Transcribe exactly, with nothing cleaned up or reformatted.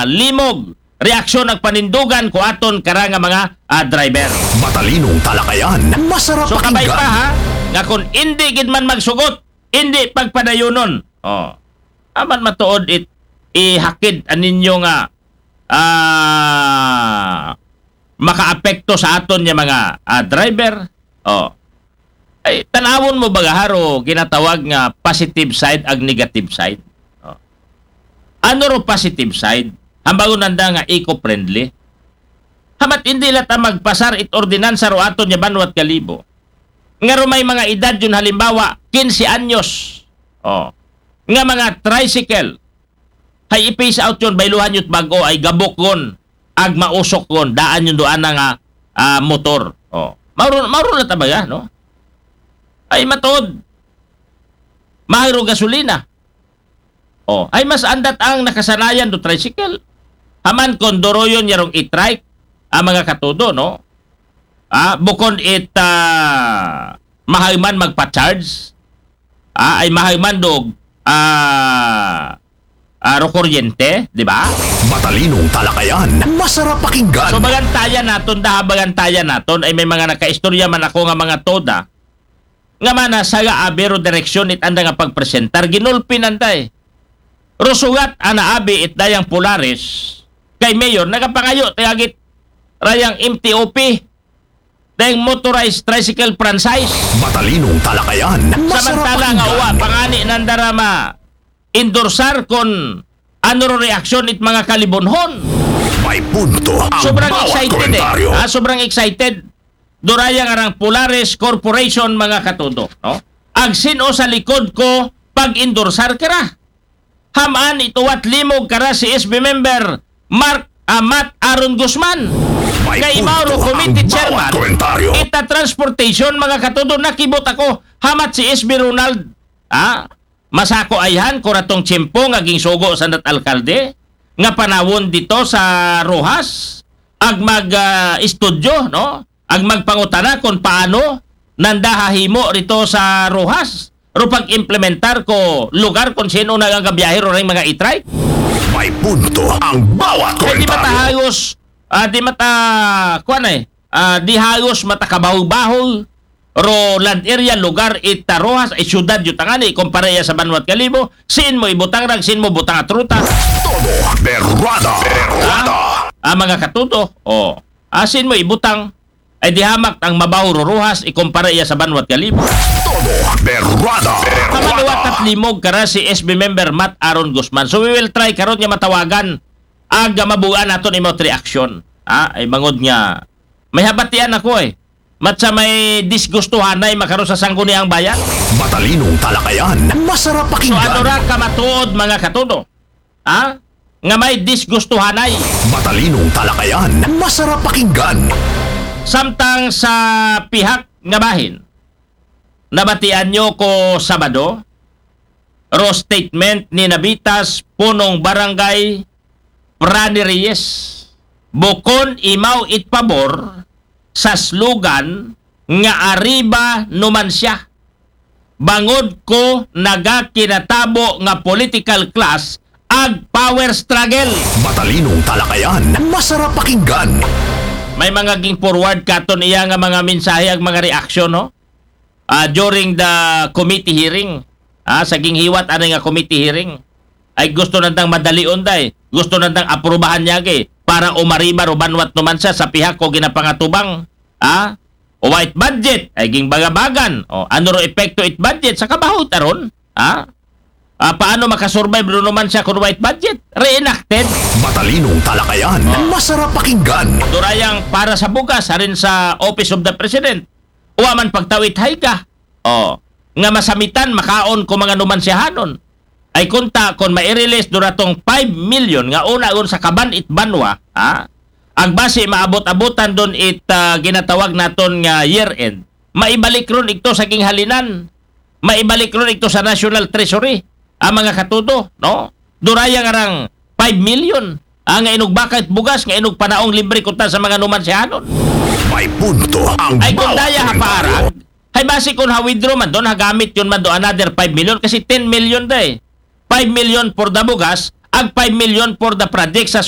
limog reaksyon ug panindugan ko aton kara nga mga, ah, driver. Matalinong talakayan, masarap So kabay pa pakinggan. Ha, nga kung hindi gid man magsugot, hindi pagpadayunon. Oh. Aman matuod it ihakid aninyo nga, ah, makaapekto sa aton nga mga, ah, driver. Oh. Ay, tanawon mo ba haro ginatawag nga positive side ag negative side? Oh. Ano ro positive side? Hambagon nanda nga eco-friendly. Hamat hindi la ta magpasar it ordinansa ro aton nga banwat Kalibo. Nga ro may mga edad yun, halimbawa, quince anyos. Oh. Nga mga tricycle. Hay i-phase out yun, bayluhan yun bag-o ay gabok yun. Ag mausok yun, daan yun doon nga, ah, motor. Oh. Mauro, mauro na tabaga, no? Ay matod. Mahal ro gasolina. Oh, ay mas andat ang nakasanayan do tricycle. Haman kon doroyon yarong e-trike, ang mga katudo, no? Ah, bukon it, ah, mahal man magpa-charge. Ah, ay mahal man dog, ah, ah, ro kuryente, di ba? Matalinong talakayan, masarap pakinggan. So, bagantayan naton, daha bagantayan naton, ay may mga nakaistorya man ako nga mga toda, nga mana sa abi ro direksyon it anda nga pagpresentar, ginulpi nanday. Rusugat ana abi it dayang Polaris, kay Mayor, nagapangayo, tayagit, rayang M T O P, dayang motorized tricycle franchise. Matalinong talakayan, masarap Samantala nga uwa, pakinggan. Pangani nandara ma-endorsar kon ano ro reaksyon it mga Kalibonhon. May punto ang Sobrang bawat excited komentaryo. Eh. Ah, sobrang excited. Duraya nga rang Polaris Corporation, mga katudo, no? Ag sin-o sa likod ko pag-endorsar kara. Haman ituwat limog kara si S B member Mark Amat Aaron Guzman. May Kay Mauro punto ang Committee bawat Chairman, komentaryo. Ita Transportation, mga katudo, nakibot ako. Hamat si S B Ronald, ah, masako ayhan, kuratong tiyempo nga gingsugo sa nat alkalde, nga panawon dito sa Rojas, ag mag, ah, estudyo, no? Ag magpangutana kung paano nanda hahimo rito sa Rojas, ro pag-implementar ko lugar kung sino na ang gabiyahe ro ring mga e-trike. May punto ang bawat Kaya di komentaryo. matahayos, ah, di mata, kuwan eh, ah, di hayos matakabaho-baho, ro land area, lugar, ita Rojas, ay syudad, yutangani, kumpara iya sa Banwat Kalibo, sin mo ibutang rag, sin mo butang at ruta. Todo berwada. Berwada. Ah, mga katudo, oh. Asin mo ibutang, ay di hamak ang mabaho ro Rojas, ikumpara iya sa Banwat Kalibo. Todo berwada. Kamaluwat Berwada. At limog kara si S B member Matt Aaron Guzman. So we will try karon nga matawagan aga mabuan naton imot reaksyon. Ah, ay mangod nga may habatian ako eh. Matsa may disgustuhanay makaro sa sangguniang bayan. Matalinong talakayan, masarap So pakinggan. Ano ra ka matuod, mga katudo? Ha? Nga may disgustuhanay. Matalinong talakayan, masarap pakinggan. Samtang sa pihak nga bahin, nabatian nyo ko Sabado, ro statement ni Nabitas Punong Barangay Prani Reyes, bukon imaw it pabor sa slogan nga Arriba Numancia. Bangod ko nagakinatabo nga political class ag power struggle. Matalinong talakayan, masarap pakinggan. May mga ging forward katon iya nga mga mensahe ag mga reaksyon, no? Ah, during the committee hearing, ah, sa ginghiwat ani nga committee hearing, ay gusto nandang madalion day, gusto nandang aprubahan niya gi para umariba ro Banwat Numancia sa pihak ko ginapangatubang, ah, o white budget, ay ging bagabagan, o ano ro epekto it budget sa kabaho taron, ah? Ah, paano makasurvive ro Numancia kun white budget? Reenacted. Matalinong talakayan, masarap pakinggan. Durayang para sa bugas, harin sa Office of the President. Wa man pagtawit hayga. Oh, nga masamitan, makaon ko mga Numanciahanon. Ay kunta, kon mai-release duratong five million nga una ron sa kaban it banwa, ha? Ag basi maabot-abotan don it, ah, ginatawag naton nga year end. Maibalik ron ito sa ginghalinan. Maibalik ron ito sa National Treasury. Ang mga katudo, no? Duraya nga rang five million. Ang nga inog bakit bugas, nga inog panaong libre kuta sa mga Numanciahanon. May punto ang Ay kung bawat daya ha komentaryo. Parag, ay basi kung ha-withdraw man don, hagamit yun man do another five million, kasi ten million day. Five million for the bugas, ag five million for the project sa